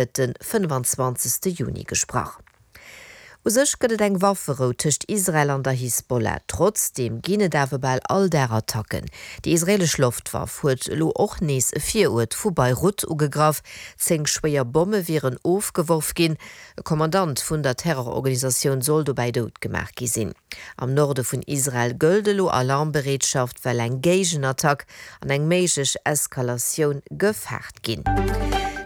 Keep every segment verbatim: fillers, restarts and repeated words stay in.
gëtt de fënnefenzwanzegste Juni gesprach. U sech gëtt et eng Wafferou tëscht Israel an der Hisbollah. Trotzdeem ginn et awer bal all Dag Attacken. Déi israeelesch Loftwaff huet elo och nees e Viruert vu Beirut ugegraff. Zéng schwéier Bomme wieren ofgeworf ginn. E Kommandant vun der Terrororganisatioun soll dobäi dout gemaach gi sinn. Am Norde vun Israel gëllt elo Alarmbereetschaft, well eng Géigenattack an eng méiglech Eskalatioun gefaart ginn.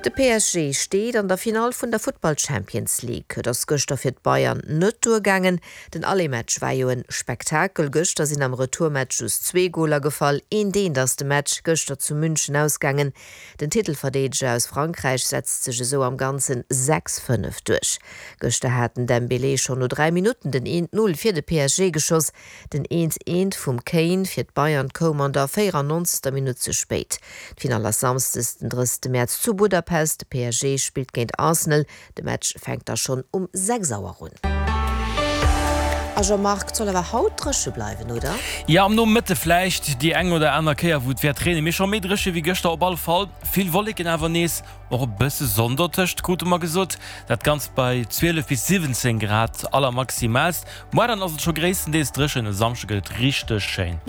De P S G steet an der Finall vun der Futtball Champions League. Et ass gëschter fir d'Bayern net duergaangen. Den Aller-Match war jo e Spektakel. Gëschter sinn am Retourmatch just zwee Goler gefall. Eent eent ass de Match gëschter zu München ausgaangen. Den Titelverdeedeger aus Frankräich setzt sech esou am Ganzen sechs fënnef duerch. Gëschter hat den Dembélé schonn no dräi Minutten den eent Null fir de P S G geschoss. Den eent eent vum Kane fir d'Bayern koum an der véierannonzegster Minutt ze spéit. D'Finall ass Samschdes den drëssegste Mäerz zu Budapest. De P S G spillt géint Arsenal. De Match fänkt da schonn um sechs Auer un. A Jean-Marc, et soll awer haut dréche bleiwen, oder? Jo, am Nomëtte vläicht déi eng oder aner Kéier wou et wäert reenen, mee scho méi dréche wéi gëschter op alle Fall. Vill Wolleken awer nees, och e bësse Sonn dotëscht, krute mer gesot. Dat Ganzt bei zwielef bis siwwenzéng Grad allermaximaalst. Muer dann ass et scho gréisstendeels dréchen, e Samschde gëtt et richteg schéin.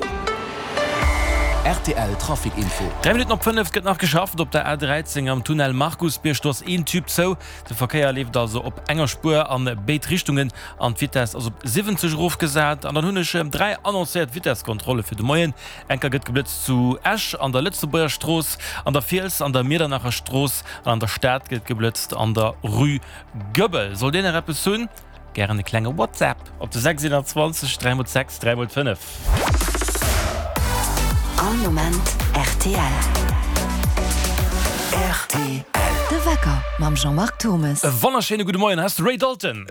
R T L Trafic Info. Dräi Minutten op fënnef. Gëtt nach geschafft op der A dräizéng am Tunnel Markusbierg. Do ass een Tube zou. De Verkéier leeft also op enger Spuer an béid Richtungen an d'Vitess ass op siwwenzeg erofgesat. An dann hunn ech dräi annoncéiert Vitesskontrolle fir de Moien. Enker gëtt geblëtzt zu Esch an der Lëtzebuerger Strooss, an der Fiels an der Miedernacher Strooss an an der Stad gëtt geblëtzt an der Rue Goebel. Sollt Dir nach eppes hunn, gären e klenge WhatsApp op de sechs iwwer zwanzeg dräi mol sechs dräi mol fënnef. All Moment R T L. R T L. De Wecker mam Jean-Marc Thommes. E wonnerschéine gudde Moien, hei ass de Ray Dalton.